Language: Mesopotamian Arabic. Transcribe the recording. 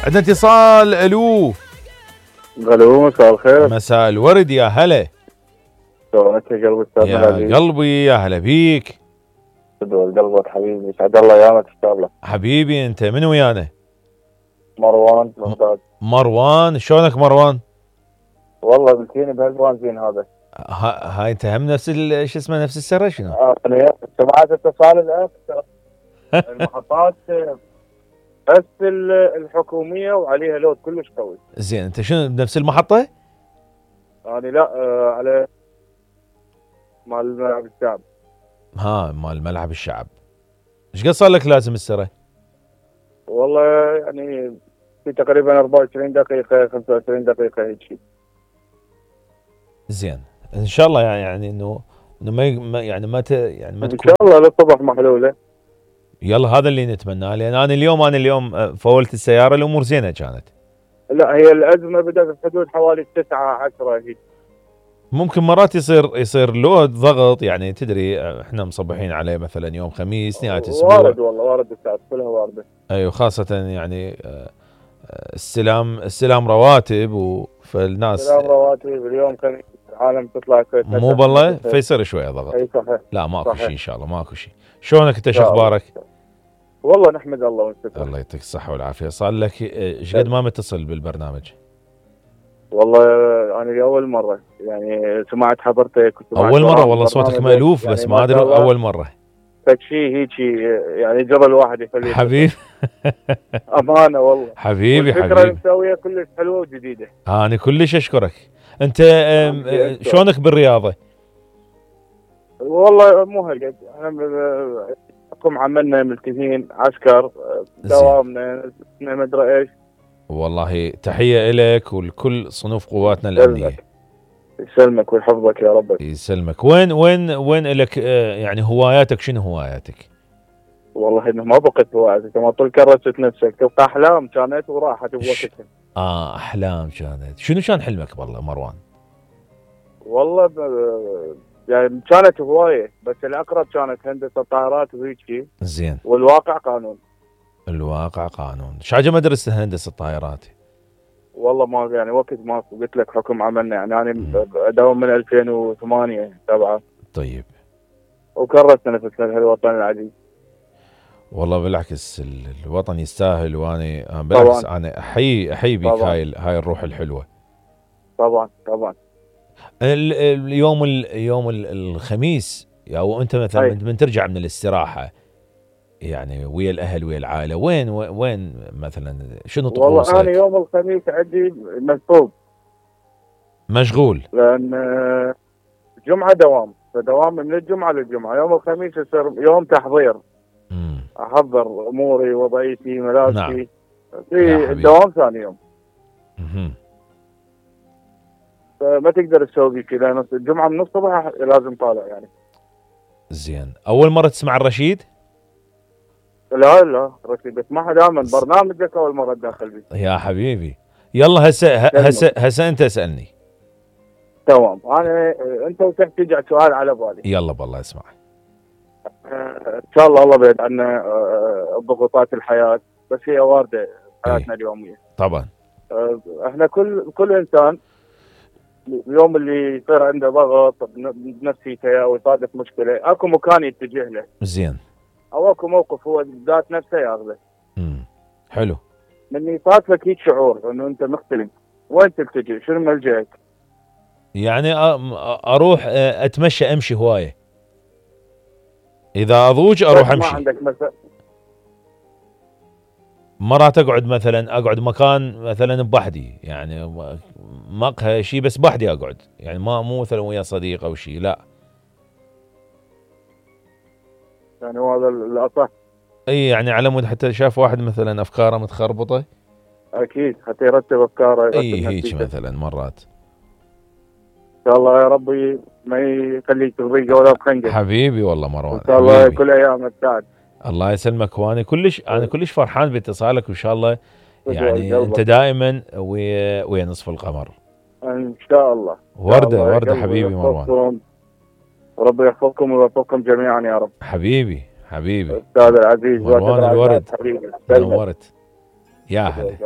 عندنا اتصال. الو مساء الخير. مساء الورد يا هلا. شلونك يا قلبي استاذنا يا العزيز؟ قلبي يا هلا بيك. تدور قلبك حبيبي، يسعد الله ايامك ان شاء الله. حبيبي انت من ويانا؟ مروان ممتاز. مروان، شلونك مروان؟ والله قلتيني بهالوان زين هذا. هاي انت هم نفس شو اسمه نفس السره شنو؟ انا سمعت اتصال الاخ. المحطات بس الحكوميه وعليها لود كلش قوي. زين انت شنو بنفس المحطه؟ يعني لا على مال ملعب الشعب. مال ملعب الشعب. ايش قد صار لك لازم السره؟ والله يعني في تقريبا 24 دقيقه 25 دقيقه هيك شيء. زين ان شاء الله يعني انه ما يعني ما ان شاء الله للصبح محلوله. يلا هذا اللي نتمناه، لان انا اليوم فولت السياره، الامور زينه كانت. لا هي الازمه بدات في حدود حوالي 9 10 هيك. ممكن مرات يصير لود ضغط، يعني تدري احنا مصبحين عليه مثلا يوم خميس نهايه اسبوع. وارد والله وارد الساعات كلها وارده. ايوه خاصه يعني استلام رواتب فالناس استلام رواتب اليوم خميس العالم تطلع مو بالله فيصير شويه ضغط. اي صحيح. لا ماكو شيء ان شاء الله ماكو شيء. شلونك انت شو اخبارك؟ والله نحمد الله ونشكر. الله يعطيك الصحه والعافيه. صار لك ايش قد ما متصل بالبرنامج؟ والله انا لاول مره يعني سمعت حضرتك اول مره والله صوتك مألوف يعني بس ما ادري اول مره فشي هيك يعني جبل واحد يخليه حبيبي. امانه والله حبيبي. الفكره اللي مسويها كلش حلوه وجديده. انا كلش اشكرك. انت شلونك بالرياضه؟ والله مو هالقد احنا حكم عملنا ملتزمين عسكر دوامنا ما ادري ايش. والله تحيه لك ولكل صنوف قواتنا الامنيه. يسلمك ويحفظك يا رب. يسلمك. وين لك يعني هواياتك؟ شنو هواياتك؟ والله انه ما بقيت هواياتك، ما طول كرست نفسك تبقى احلام كانت وراحت بوقتها. احلام كانت. شنو كان حلمك والله مروان؟ والله يعني كانت هوايه بس الاقرب كانت هندسه طائرات وهيك. زين. والواقع قانون. الواقع قانون. شاجة ما درست هندسه طائرات؟ والله ما يعني وقت ما قلت لك حكم عملنا يعني انا اداوم من 2008 7. طيب. وكرست نفسنا بهالوطن العزيز. والله بالعكس الوطن يستاهل، وانا بالعكس طبعاً. انا احيي بيك هاي الروح الحلوه. طبعا. يوم الخميس او انت مثلا من ترجع من الاستراحه يعني ويا الاهل ويا العائله وين مثلا شنو طقوسك؟ والله انا يوم الخميس عندي مشغول لان جمعه دوام، فدوام من الجمعه للجمعه. يوم الخميس يصير يوم تحضير. احضر اموري وضعيتي ملابسي. نعم. في الدوام ثاني يوم. فما تقدر تسوي كذا، الجمعه من الصبح لازم طالع يعني. زين. اول مره تسمع الرشيد؟ لا رشيد بسمعها دائما برنامجك اول مره تدخل بي. يا حبيبي يلا هسه انت اسالني. تمام. انا انت وتحتاج سؤال على بالي. يلا بالله اسمع. ان شاء الله بعيد عنا ضغوطات الحياه، بس هي وارده حياتنا اليوميه. طبعا. احنا كل انسان اليوم اللي يصير عنده ضغط بنفسيته او يصادف مشكله اكو مكان يتجه له. زين. او اكو موقف هو ذات نفسه ياخذه. حلو. من يصادفك هيك شعور انه انت مختلف، وين تلتجئ؟ شنو ملجأك؟ يعني اروح امشي هوايه. اذا اضوج اروح امشي. ما عندك مثلا مرات اقعد مكان مثلا بوحدي، يعني مقهى شيء بس بوحدي اقعد، يعني مو مثلا ويا صديق او شيء، لا. يعني هذا الاصح. اي يعني على مود حتى شاف واحد مثلا افكاره متخربطه. اكيد حتى يرتب افكاره. اي هيك مثلا مرات. ان شاء الله يا ربي ما يخليك تضيق ولا بخنقه. حبيبي والله مروان. ان شاء الله كل ايامك سعد. الله يسلمك. وانا كلش فرحان باتصالك، وان شاء الله يعني انت دائما ويا نصف القمر ان شاء الله. ورده حبيبي مروان. وربي يحفظكم ويوفقكم جميعا يا رب. حبيبي استاذ العزيز مروان الورد. نورت. يا هلا.